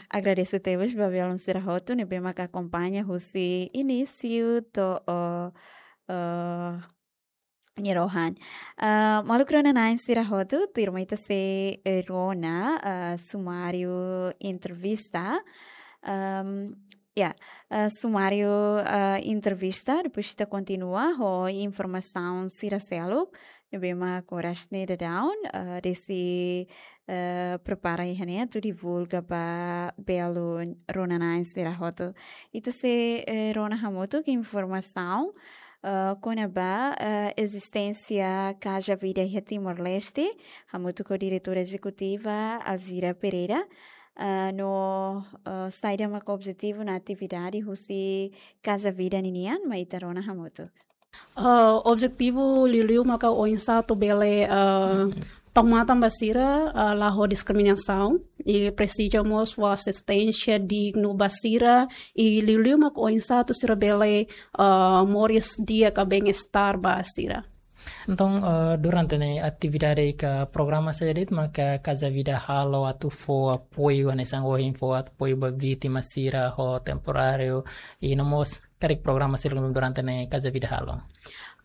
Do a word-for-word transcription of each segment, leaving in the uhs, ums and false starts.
Agradese tebes ba belun sira hotu ne'ebé maka akompaña husi inísiu to'o, eh, nia rohan. Eh, maluk rona-na'in sira hotu, tuirmai ita sei, eh, rona, eh, sumáriu entrevista. Ehm, ya, eh, sumáriu, eh, entrevista, depois ita kontinua ho informasaun sira seluk ne'ebé mak oras ne'e daudaun, eh, Desi, eh, prepara iha ne'e atu divulga ba belun rona-na'in sira hotu. Ita sei, eh, rona hamutuk informasaun, eh, kona-ba, eh, ezisténsia Casa Vida iha Timor-Leste, hamutuk ho diretora ezekutiva Alzira Pereira, eh, no, eh, saida maka objetivu no atividade husi Casa Vida ninian, mai ita rona hamutuk. Eh, objetivu liuliu maka oinsá atu bele, eh, tau matan ba sira, eh, la ho diskriminasaun, i presiza mós fó ezisténsia dignu ba sira, i liuliu maka oinsá atu sira bele, eh, moris di'ak ka bem-estar ba sira. Entaun, eh, durante ne'e atividade ka programa saida de'it maka Casa Vida halo atu fó apoiu, hanesan ohin fó apoiu ba vítima sira ho temporáriu, i no mós karik programa sira durante ne'e Casa Vida halo?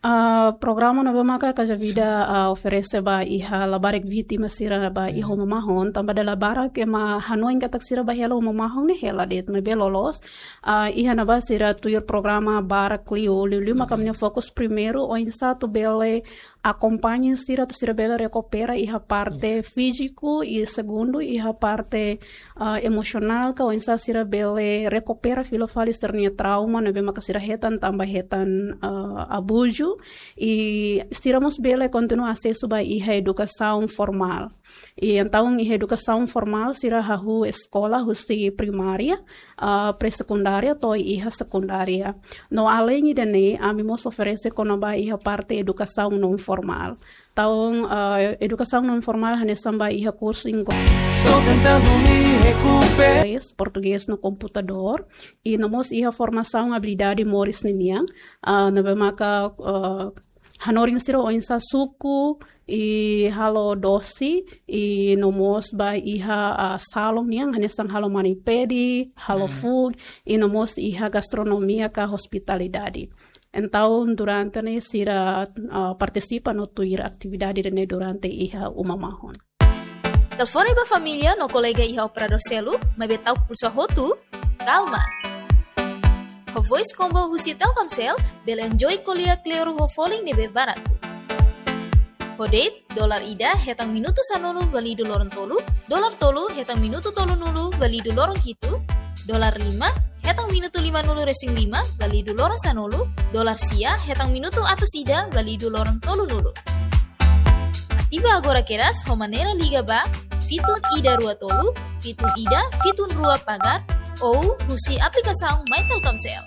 Ah, programa ne'ebé maka Casa Vida, ah, oferese ba iha labarik vítima sira ba iha uma mahon, tanba dala barak ema hanoin katak sira ba hela uma mahon ne'e hela de'it, maibé loloos, ah, iha ne'ebá sira tuir programa barak liu, liuliu maka ami-nia fokus primeiru oinsá atu bele akompaña sira atu sira bele rekupera iha parte fíziku, i segundu iha parte, ah, emosionál, ka oinsá sira bele rekupera fila fali sira-nia trauma ne'ebé maka sira hetan tanba hetan, ah, abuzu, i sira mós bele kontinua asesu ba iha edukasaun formál. I entaun iha edukasaun formál sira hahú eskola husi primária, ah, pré-sekundária to'o iha sekundária. No além ida-ne'e, ami mós oferese kona-ba iha parte edukasaun non formál. Entaun, ah, edukasaun non formál hanesan ba iha kursu inglés, Estou tentando me recuperar. Portugés no komputadór. I no mós iha formasaun abilidade moris ninian, ah, ne'ebé maka, ah, hanorin sira oinsá suku, i halo dosi, i no mós ba iha, ah, salon nian, hanesan halo mani-pedi, halo fuuk, i no mós iha gastronomia ka hospitalidade. Entaun, durante ne'e sira, ah, partisipa no tuir atividade ne'e durante iha uma mahon. Telefone ba família no kolega iha operadór seluk, maibé ta'uk pulsa hotu? Kalma. Ho Voice Combo husi Telkomsel, bele enjoy ko'alia kleur ho folin ne'ebé baratu. Ho date, dolar ida hetan minutu sanulu válidu loron tolu, dolar tolu hetan minutu tolunulu válidu loron hitu, dolar lima hetan minutu limanulu resin lima válidu loron sanulu, dolar sia hetan minutu atus ida válidu loron tolunulu. Ativa agora kedas ho maneira liga ba fitun ida rua tolu, fitun ida, fitun rua pagar, ou husi aplikasaun My Telkomsel.